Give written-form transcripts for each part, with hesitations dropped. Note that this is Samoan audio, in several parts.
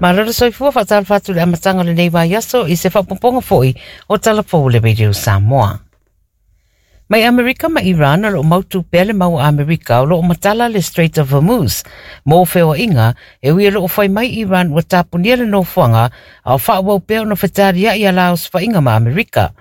Malo le soifua faatalofa atu i le amataga o lenei vaiaso i se faaopoopoga foi o Tala Fou o le Radio Samoa. Mai Amerika ma Iran o lo o mautu pea le mau a Amerika o lo o matala le Strait of Hormuz mo feoaiga e ui o lo o fai mai Iran ua tapunia le nofoaga a o faaauau pea ona fetaliai a la osofaiga ma Amerika.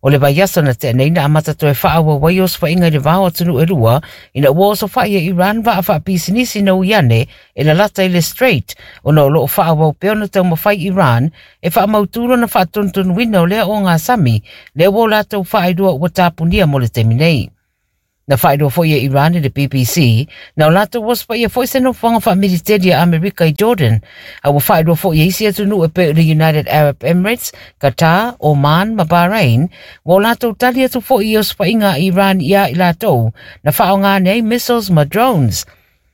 O le vaiaso na tea nei na amata toe faaauau ai osofaiga i le va o atunuu e lua ina ua osofai e Iran vaa faapisinisi na ui ane e lalata i le Strait ona o lo o faaauau pea ona taumafai Iran e faamautū lona faatonutonuina o lea ogasami lea ua o latou faailoa ua tapunia mo le taimi nei. Na faailoa foi e Iran i le BBC, na o latou osofaia foi se nofoaga faamiliteli a Amerika i Jordan, a ua faailoa foi e isi atunuu e pei o le United Arab Emirates, Qatar, Oman ma Bahrain, ua o latou tali atu foi i osofaiga a Iran iā i latou na faaaoga ane ai missiles ma drones.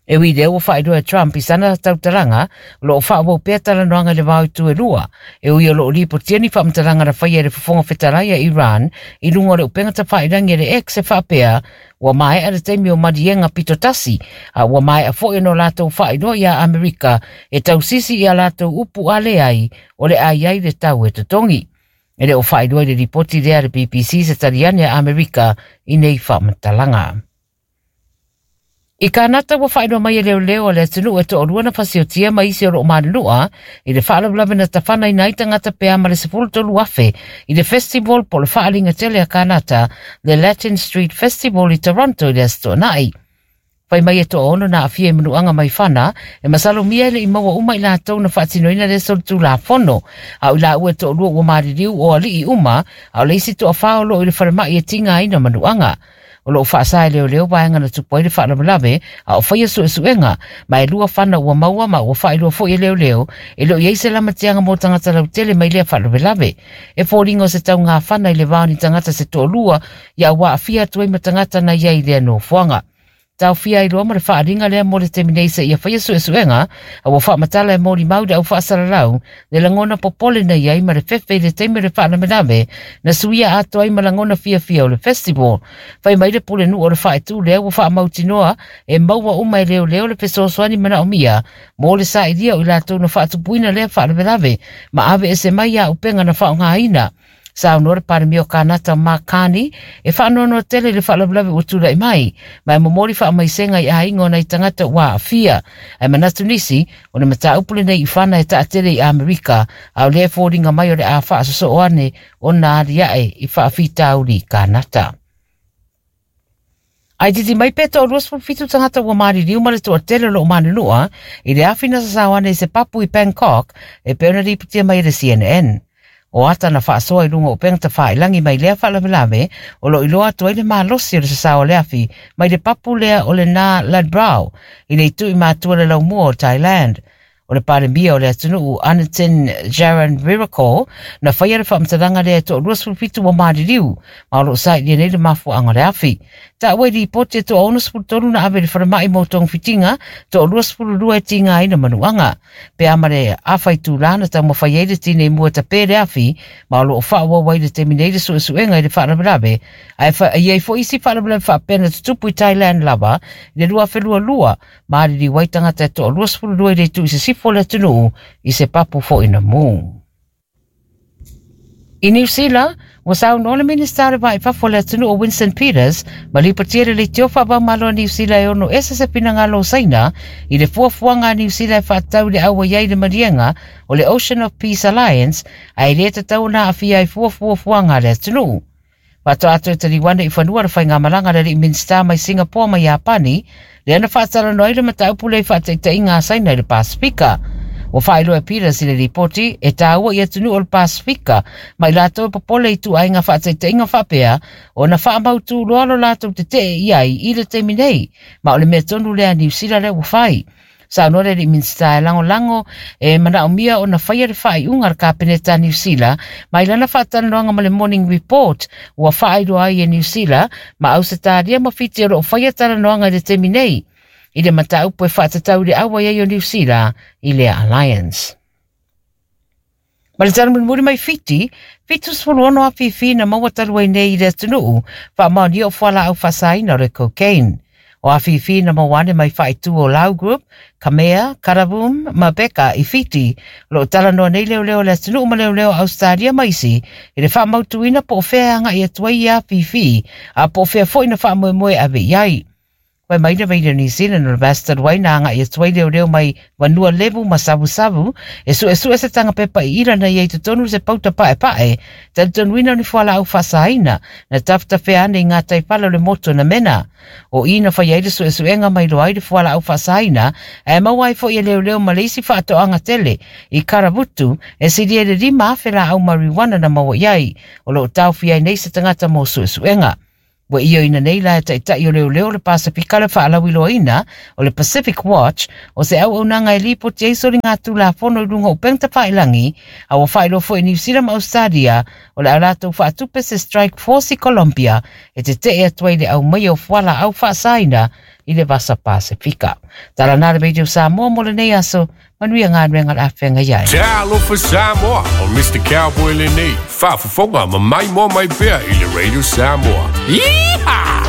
E ui i lea ua faailoa e Trump i sana tautalaga, o lo o faaauau pea talanoaga i le va o itu e lua, e ui o lo o lipotia ni faamatalaga na faia e le Fofoga Fetalai a Iran i luga o le upega tafailagi a le X e faapea, ua maea le taimi o maliega pito tasi, a ua maea foi ona o latou faailoa iā Amerika e tausisi i a latou upu a leai o le a i ai le tau e totogi. E le o faailoa i le lipoti lea a le BBC se tali ane a Amerika i nei faamatalaga. I Kānata ua faailoa mai e leoleo a le atunuu e toalua na fasiotia ma isi o lo o malunua i le faalavelave na tafanaina ai tagata pe a ma le 13,000 i le festival po o le faaaliga tele a Kānata, le Latin Street Festival i Toronto i le Aso Toonai. Fai mai e toaono na aafia i manuaga mai fana, e masalomia e le i maua uma i latou na faatinoina lea solitulafono, a o i laua e toalua ua maliliu o alii uma, a o le isi toafa o lo o i le falemai e tigaina manuaga. O lo o faasa e leoleo vaega na tupu ai le faalavelave a o faia suesuega, ma e lua fana ua maua ma ua faailoa foi e leoleo e le o i ai se lamatiaga mo tagata lautele mai lea faalavelave. E foliga o se tauga fana i le va o ni tagata se toalua ia ua aafia atu ai ma tagata na i ai i lea nofoaga. Taofia ai loa ma le faaaliga lea mo le taimi nei seia faia suesuega, a ua faamatala e molimau le au faasalalau le lagona popole na i ai ma le fefe i le taimi o le faalavelave na suia atoa ai ma lagona fiafia o le festival. Fai mai le pulenuu o le faaitu lea ua faamautinoa e maua uma e leoleo le fesoasoani manaomia mo le sailia o i latou na faatupuina lea faalavelave ma aveese mai auupega na faaaogaina. Saunoa le Palemia o Kānata Mark Carney e faanoanoa tele i le faalavelave ua tulai mai, ma e momoli faamaisega i aiga o nai tagata ua aafia. Ae manatu nisi, o le mataupu lenei i fana e taatele i Amerika, a o lea e foliga mai o le a faasosoo ane ona aliae i faafitauli i Kānata. Ae titi mai pe toa 27 tagata ua maliliu ma le toatele o lo o manunua i le afi na sasao ane i se papu i Bangkok e pei ona lipotia mai e le CNN. O ata na faasoa i luga o upega tafailagi mai lea faalavelave o lo o iloa atu ai le malosi o le sasao o le afi mai le papu lea o le Na Ladbrao i le itu i matua le laumua o Thailand. O le Palemia o le atunuu Anutin Jaranvirakul na faia le faamatalaga lea e toa 27 ua maliliu ma o lo o sailia nei le mafuaaga o le afi. Taua i lipoti e toa 63 na ave i le falemai mo togafitiga, toa 22 e tigaina manuaga. Pe a ma le afa itula na taumafai ai le tinei mu e tapē le afi ma o lo o faaauau ai i le taimi nei le suesuega i le faalavelave. Ae i ai foi isi faalavelave faapea na tutupu i Thailand lava i le 2022 Maliliu ai tagata e toa 22 i le itu i sisifo o le atunuu i se papu foi na mu. I Niu Sila, ua saunoa le Minista o le Va i Fafo o le atunuu o Winston Peters ma lipotia le leitio faavaomalo a Niu Sila e ono ese se finagalo o Saina i le fuafuaga a Niu Sila e faatatau i le auai ai i le maliega o le Ocean of Peace Alliance ae le tatau ona aafia ai fua fuafuaga a le atunuu. Faatoa toe taliu ane i fanua le faigamalaga a le alii Minisita mai Singapore ma Iapani, lea na faatalanoa ai le mataupu lea i faataitaiga a Saina i le Pasefika. Ua faailoa e Peters i le lipoti, e tāua i atunuu o le Pasefika ma i latou e popole i ituaiga faataitaiga faapea ona faamautū loa lo latou tetee i ai i le taimi nei, ma o le mea tonu lea a Niu Sila lea ua fai. Saunoa le alii Minisita e lagolago e manaomia ona faia le faaiuga a le Kapeneta a Niu Sila mai lana faatalanoaga ma le Morning Report ua faailoa ai e Niu Sila ma Ausetalia ma Fiti o lo o faia talanoaga i le taimi nei i le mataupu e faatatau i le auai ai o Niu Sila i lea alliance. Ma le tala mulimuli mai Fiti, 76 afifi na maua talu ai nei i le atunuu, faamaonia o fualaau faasaina o le cocaine. O afifi na maua ane mai faaitu o Lau Group, Kamea, Karavum ma Beka i Fiti. O lo o talanoa nei leoleo o le atunuu ma leoleo o Ausetalia ma isi i le faamautuina po o fea e agai atu ai ia afifi a po o fea foi na faamoemoe e ave i ai. Fai mai le Radio New Zealand o le vaiaso talu ai na agai atu ai leoleo mai Vanua Levu ma Savusavu e suesue se taga pepa iila na i ai i totonu se pauta paepae talitonuina o ni fualaau faasaina na tafetafea ane i gataifale o le motu na mena. O i na fai ai le suesuega ma iloa ai le fualaau faasaina ae maua ai foi e leoleo ma le isi faatoaga tele i Karavutu e silia i le 5,000 laau marijuana na maua i ai. O lo o taofia ai nei se tagata mo suesuega. Ua ioeina nei la e taitai o leoleo o le Pasefika le faalauiloaina o le Pacific Watch o se auaunaga e lipoti ai soligatulafono i luga o upega tafailagi, a ua faailoa foi e Niu Sila ma Ausetalia o le a latou faatupe se Strike Force i Colombia e tetee atu ai i le aumaia o fualaau faasaina i le Vasa Pasefika. Tala na le Radio Samoa mo lenei aso, manuia galuega o le a feagai ai. Talofa Samoa, o Mr. Cowboy lenei, faafofoga ma maimoa mai pea i le Radio Samoa. Yeehaw!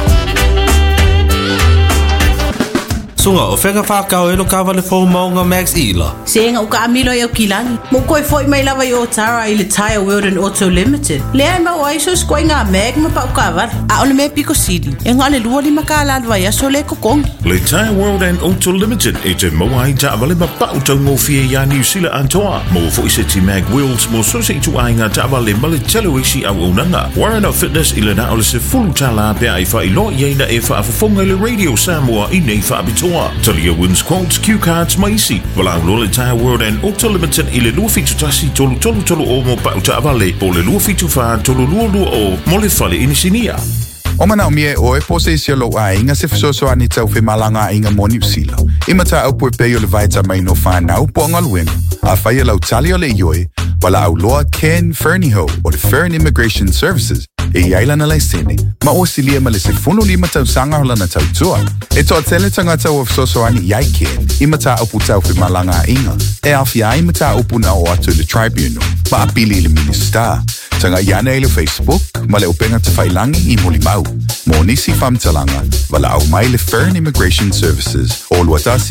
Suga, o fea ka whākau e lo kāwale fou maunga Max Ila? Se ega uka amilo i au kilagi. Mo koe foi mai lava i Otara i le Tyre World and Auto Limited. Lea e maua ai so sikoa i ngā mag ma pau kāwale. A o le mea piko sili, e ngā le 25 kālā le vaiaso le kokongi. Le Tyre World and Auto Limited e te maua ai taavale ma pau taugofie iā Niu Sila atoa. Maua foi seti mag wheels mo so se ituaiga taavale ma le tele o isi auaunaga. Warren of Fitness i le na o le $10 pe a e faailoa i ai na e faafofoga i le Radio Samoa i nei faapitoa. Talia wins quotes, cue cards ma isi. Valaau loa le Tyre World and Auto Limited i le 271 3330 mo pau taavale po o le 274 3220 mo le fale inisinia. O manaomia e ʻoe po o se isi o lou aiga se fesoasoani tau femalagaaiga mo Niu Sila i mataupu e pei o le vaetamaina o fanau po o galuega. Afai o lau tali o le ioe, valaau loa Ken Fernihough o le Fern Immigration Services e i ai lana laisene ma ua silia ma le 15 tausaga o lana tautua. E toatele tagata ua fesoasoani i ai Ken i mataupu tau femalagaaiga e aofia ai mataupu na oo atu i le Tribunal ma apili i le Minisita. Tagai ane i le Facebook ma le upega tafailagi i Molimau. Mo nisi faamatalaga, valaau mai le Fern Immigration Services o 21.